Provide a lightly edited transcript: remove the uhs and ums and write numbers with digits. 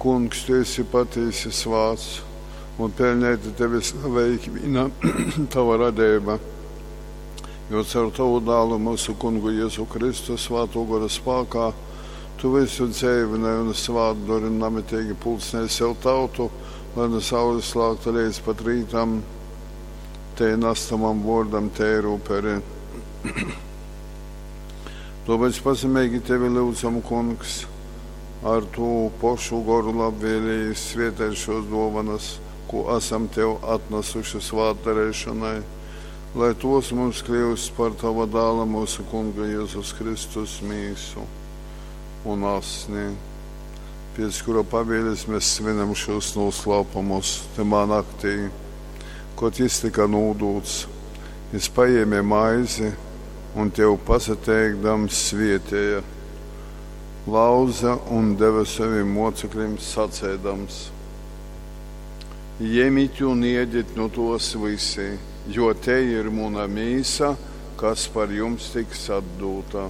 Kungs, tu esi patīsi svāts, un peļneiti tevi slavej ikvīna tava radeiba, jo caur tovu Dālu, myusu Kungu Jezu Kristu, Svātō Gora spākā, tu vysu dzeivynoj un svātdori un namiteigi pulcnej sev tautu, lai nu saules lākta leidz pat rītam tei nas tavam vōrdam teiru uperi. Tōpēc pazemeigi tevi lyudzam, Kungs, ar tū pošu goru labvēlīgi svietej šōs dōvanas, kū asam tev atnasuši svātdareišonai, lai tos mums kļūst par tava dāla myusu Kunga Jezus Kristus mīsu un asni, pēc kura pavēles mēs svinam šos noslēpumus tymā naktī, kad jis tika nūdūts, jis paēmē maizi un tev pasateikdams svietēja, lauza un deva saviem mocekļiem sacēdams: Jemit un iedit nu tos visi, jo te ir muna mīsa, kas par jums tiks atdūta.